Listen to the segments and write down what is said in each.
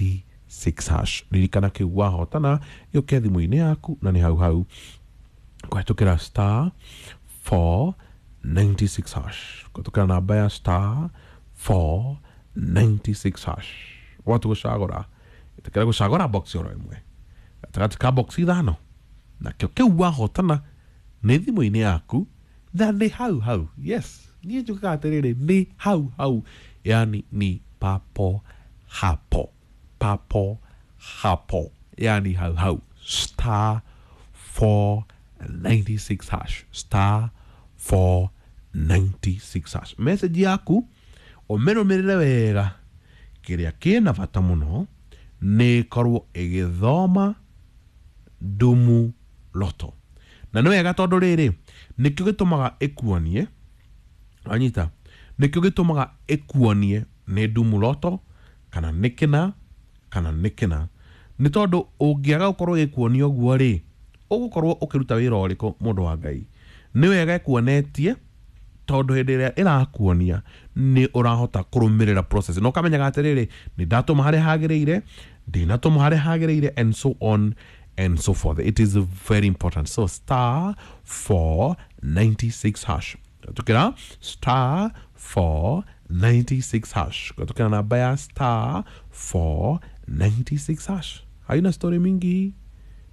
96 hash. Ririkana kĩu wahotana gĩũke thimũ-inĩ yaku na nĩ hau hau kũhetũkĩra star 496 hash, kũhetũkĩra namba ya star 496 hash. Watu gũcagũra, ĩtĩkĩra gũcagũra box oro ĩmwe gatagatĩ ka box ithano, nakĩo kĩu wahotana nĩ thimũ-inĩ yaku na nĩ hau hau. Yes, niĩ njugaga atĩrĩrĩ, nĩ hau hau, yani ni papo hapo, papo hapo, yani hau hau. Star 496 hash, star 496 hash. Message yaku ũmĩrũmĩrĩre wega, kĩrĩa kĩna bata mũno nĩ ĩkorwo ĩgĩthoma Dumu Lotto. Na nĩ wega tondũ rĩrĩ nĩkĩo gĩtũmaga ĩkuonie, anyita, nĩkĩo gĩtũmaga ĩkuonie nĩ Dumu Lotto kana nĩ kĩna kana nĩ kĩna. Nĩ tondũ ũngĩaga gũkorwo ĩkuonia ũguo rĩ, ũgũkorwo ũkĩruta wĩra ũrĩkũ mũndũ wa Ngai? Nĩ wega ĩkuonetie, tondũ hĩndĩ ĩrĩa ĩrakuonia nĩ ũrahota kũrũmĩrĩra process na ũkamenyaga atĩrĩrĩ, nĩ ndatũma harĩa hagĩrĩire, ndinatũma harĩa hagĩrĩire, and so on and so forth. It is very important. So star 496 hash, tukira star 496 hash, tukira namba ya star 496 hash. Haina story mingi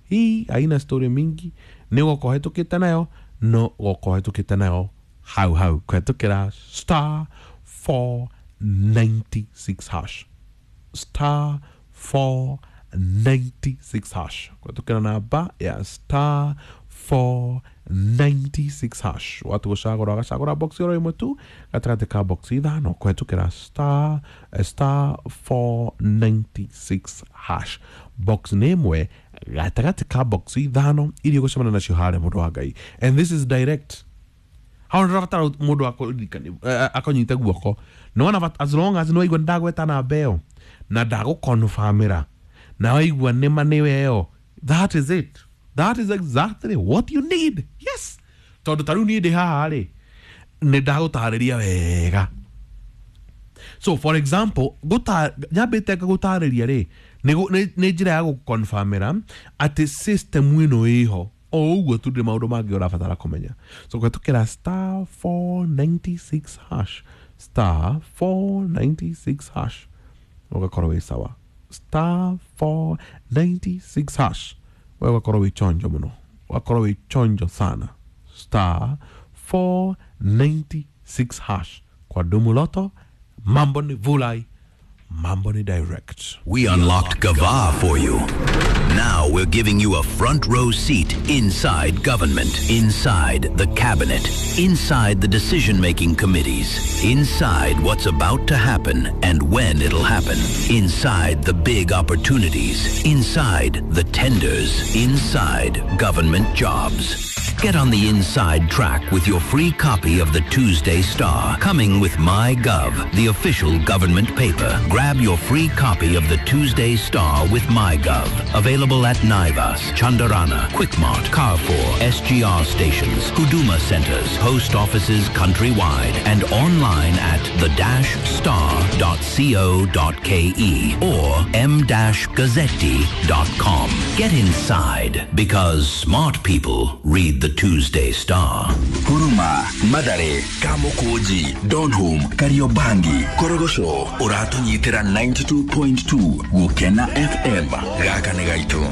hii, haina story mingi, nĩ gũkorwo hetũkĩte nayo, no gũkorwo hetũkĩte nayo hau hau kũhetũkĩra star 496 hash, star 496 hash, kũhetũkĩra namba ya star 496 hash. Watu gũcagũra ũgacagũra box oro ĩmwe tu gatagatĩ ka box ithano kũhetũkĩra star star 496 hash. Box nĩ ĩmwe gatagatĩ ka box ithano iria ũgũcemania nacio harĩa, mũndũ wa Ngai. And this is direct. Hau ndũrabatara mũndũ akũnyite guoko. Nĩwona, as long as nĩwaigua nĩndagweta namba ĩyo na ndagũkonfamĩra na waigua nĩma nĩwe ĩyo, that is it. That is exactly what you need. Yes, tondũ ta rĩu niĩ ndĩ haha rĩ, nĩ ndagũtarĩria wega. So for example, nyambĩte ngagũtarĩria rĩ, nĩ njĩra ya gũkonfamĩra atĩ system ĩno ĩho o ũguo tu, ndĩ maũndũ mangĩ ũrabatara kũmenya. So kũhetũkĩra star 496 hash, star 496 hash, ũgakorwo wĩ sawa. Star 496 hash, we ũgakorwo wĩ chonjo mũno, ũgakorwo wĩ chonjo sana. Star 496 hash kwa Dumu Lotto, mambo ni vulai, mambo ni direct. We unlocked Gava for you. Now we're giving you a front row seat inside government, inside the cabinet, inside the decision-making committees, inside what's about to happen and when it'll happen, inside the big opportunities, inside the tenders, inside government jobs. Get on the inside track with your free copy of the Tuesday Star, coming with MyGov, the official government paper. Grab your free copy of the Tuesday Star with MyGov. Available at Naivas, Chandarana, Quickmart, Carrefour, SGR stations, Huduma centers, post offices countrywide, and online at the-star.co.ke or m-gazzetti.com. Get inside, because smart people read the Tuesday Star. Huruma, Mathare, Kamukunji, Donholm, Kariobangi, Korogocho, ũratũnyitĩra 92.2 Gũkena FM. Gaka nĩ gaitũ.